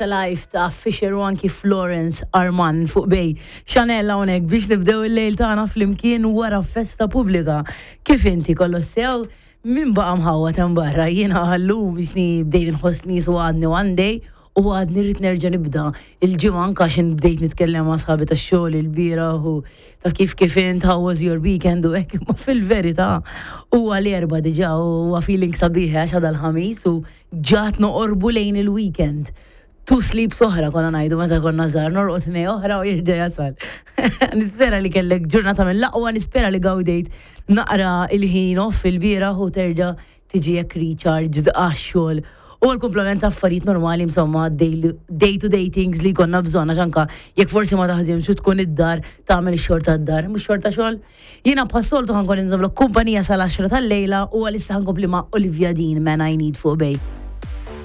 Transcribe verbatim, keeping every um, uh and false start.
It's a Life ta' Fisher u anki Florence Arman fuq Bay. Chanel hawnhekk biex nibdew il-lejl tagħna flimkien wara festa pubblika. Kif inti, kollox sew? Min baqa' mħawwad hemm barra? Jiena llum jisni bdejt nħossni su għadni one day u għadni rrid nerġa' nibda il-ġimgħa, anka xin bdejt nitkellem ma' sħabi tax-xogħol il-bieraħ u ta' kif kif int, how was your weekend u hekk, imma fil-verità huwa l-Erbgħa diġà u huwa feeling sabiħ għax għada l-Ħamis u ġat noqorbu lejn il-weekend. Two sleeps oħra konna ngħidu meta konna żgħar, norqod tnej oħra u jirġa' jasal. Nispera li kellek ġurnata mill-aqwa, nispera li gawdejt naqra il-ħin off il-bieraħ u terġa' tiġi hekk recharged għax-xogħol. U għal-komplement ta' affarijiet normali, insomma, day to day things li konna bżonn, għax anka jekk forsi ma taħdimx u tkun id-dar, tagħmel ix-xogħol tad-dar, mhux xogħol ta' xogħol. Jiena bħas-soltu ħa nkun inżommlok kumpanija sal-għaxra tal-lejla u għalissa ħa nkompli ma' Olivia Dean, Man I Need fuq Bay.